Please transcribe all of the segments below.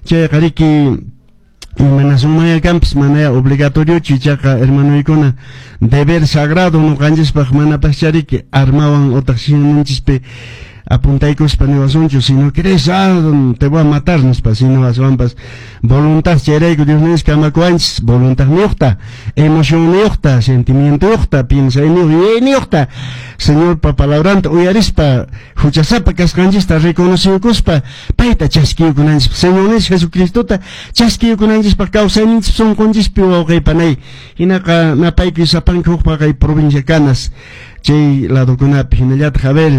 Chayqa riki imanasunmanya kanpas, manaya obligatoriochu, ichaqa hermanoykuna deber sagrado ñuqanchispaq manapaschá riki armawan utaq simunchispi apuntaykuspa niwasunchu, "Si no crees, ah, te voy a matar", nispa, sino aswanpas voluntad. Chayrayku Dios kamakuwanchis voluntadniyuqta, emotionniyuqta, sentimientoyuqta, piensayniyuq, yuyayniyuqta, Señorpa palabranta uyarispa, huchasapa kasqanchista reconociyukuspa, payta chaskiyukunanchispaq, Señorninchis Jesucristota chaskiyukunanchispaq kawsayninchis sunqunchispi, wawqi panay. Hinaqa napaykuy sapanka hukpa kay provincia Canas chay ladokunapi, hinallataq a ver,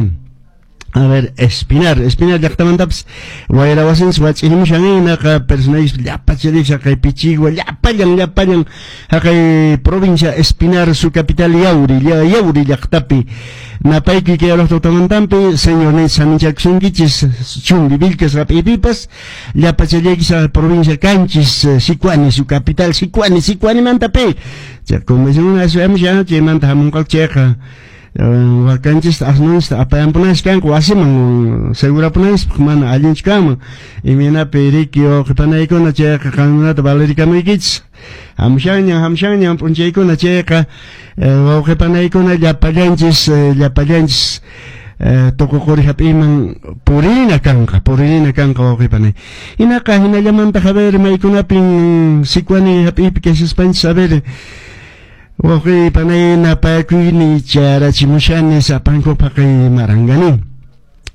Espinar llaqtamantapas wayra wasinchis wach'irimushan. Hinaqa personayis llapacharish haqay Pichigua, llapallan haqay provincia Espinar, su capital Yauri, Yauri llaqtapi napaykuy kay tutamantampi. Señorninchis saminchakusunkichis Chumbivilcas hap'iypipas llapachallaykichis provincia Canchis, Sicuani, su capital Sicuani, Sicuanimantapi chay convención aswamushan chaymanta hamunqaku. Chayqa wakanchista asnunchista apayampunanchis kanku wasiman segurapunanchispaq, mana allinchu kanman imaynapi riki, wawqipanaykuna. Chayqa qankunata valerikamuykichis, hamushanñan hamushanñan p'unchaykuna. Chayqa wawqipanaykuna, llapallanchis tukuquri hap'iyman purina kanqa, puririna kanqa, wawqipanay. Hinaqa hinallamantaq, a ver, maykunapin Sicuani hap'iypi kashaspanchis, a ver, wawqi panay, napakuyni charachimushani sapankupaq kay Marangani,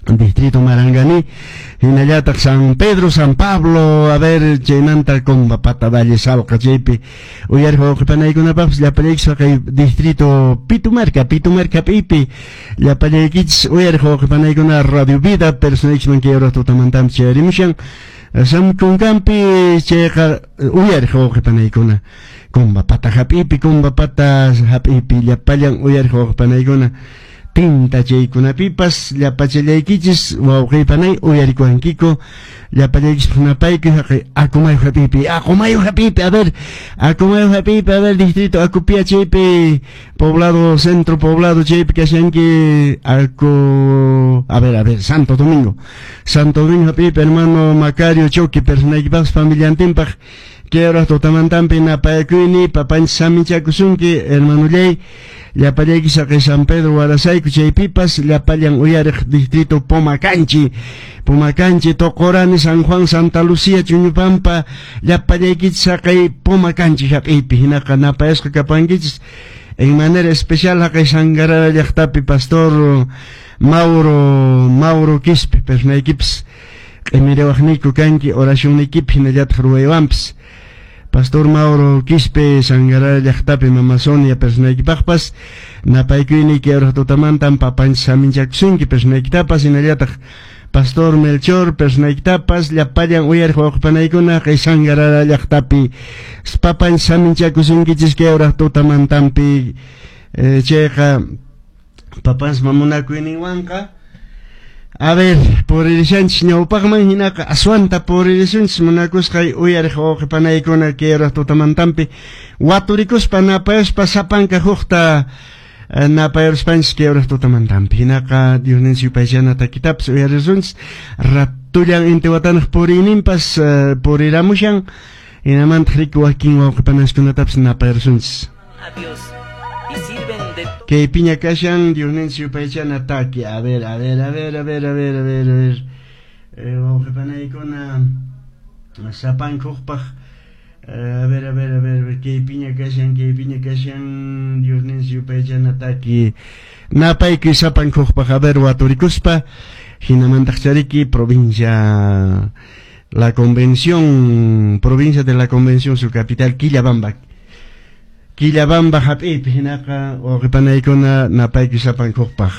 distrito Marangani, hinallataq San Pedro, San Pablo, a ver, chaymanta Combapata, Valle Salqa, chaypi uyariq wawqipanaykunapaqpas llapallaykichis kay distrito Pitumarca, Pitumarca hap'iypi llapallaykichis uyariq wawqipanaykuna. Radio Vida personaykichman kay hora tutamantampi chayarimushan samkunkampi. Chayqa uyariq wawqipanaykuna Combapata hap'iypi, Combapata hap'iypi llapallan uyariq wawqipanaykuna, tinta chaykunapipas llapachallaykichis wawqipanay uyarikuwankiku. Llapallaykichis napaykuy haqay Acomayo hap'iypi, Acomayo hap'iypi, a ver, Acomayo hap'iypi, a ver, distrito Acopia chaypi, poblado Centro Poblado chaypi kashanki Aco, a ver, Santo Domingo, Santo Domingo hap'iypi hermano Macario Choqui personaykipaqpas familiantinpaq kay hora tutamantampi napayakuyni. Papanchis saminchakusunki, hermanollay. Llapallayki saqay San Pedro Warasayku chaypipas llapallan uyariq distrito Pomacanchi, Pomacanchi, Tocorani, San Juan, Santa Lucía, Chuñupampa, llapallaykichis saqay Pomacanchi hap'iypi hinaqa napayasqa kapankichis. En manera especial haqay Sangarara llaqtapi pastor Mauro Quispe personaykipas q'imiriwaqniyku kanki oracionniykipi hinallataq ruwaywanpas. Pastor Mauro Quispe Sangarara llaqtapi Mama Sonia personaykipaqpas napaykuyni kay tutamantan. Papanchis saminchakusunki personaykitapas, hinallataq Pastor Melchor personaykitapas, llapallan uyariq wawqipanaykuna kay Sangarara llaqtapi papanchis saminchakusunkichis kay hora tutamantampi. Chayqa papanchis mamunakuyninwanqa, a ver, puririshanchis ñawpaqman, hinaqa aswanta puririsunchis, munakusqay uyariq wawqipanaykuna kay hora tutamantampi waturikuspa napayaspa sapanka hukta napayaruspanchis kay hora tutamantampi. Hinaqa Diosninchis yupaychana takitapas uyarisunchis ratullan Intihuatanaq puriyninpas puriramushan, hinamantaq riki wakin wawqipanaskunatapas napayarusunchis. A Dios y sirven de Kay piña kashan Diosninchis yupaychana taki. A ver, a ver, a ver, a ver, a ver, a ver, a ver, wawqipanaykuna sapanka hukpaq a ver, a ver, a ver, kay piña kashan, kay piña kashan Diosninchis yupaychana taki. Napaykuy sapanka hukpaq, a ver, waturikuspa, hinamantaq chariki provincia La Convención, provincia de La Convención, su capital Quillabamba, Quillabamba hap'iypi hinaqa wawqipanaykuna napaykuy sapanka hukpaq.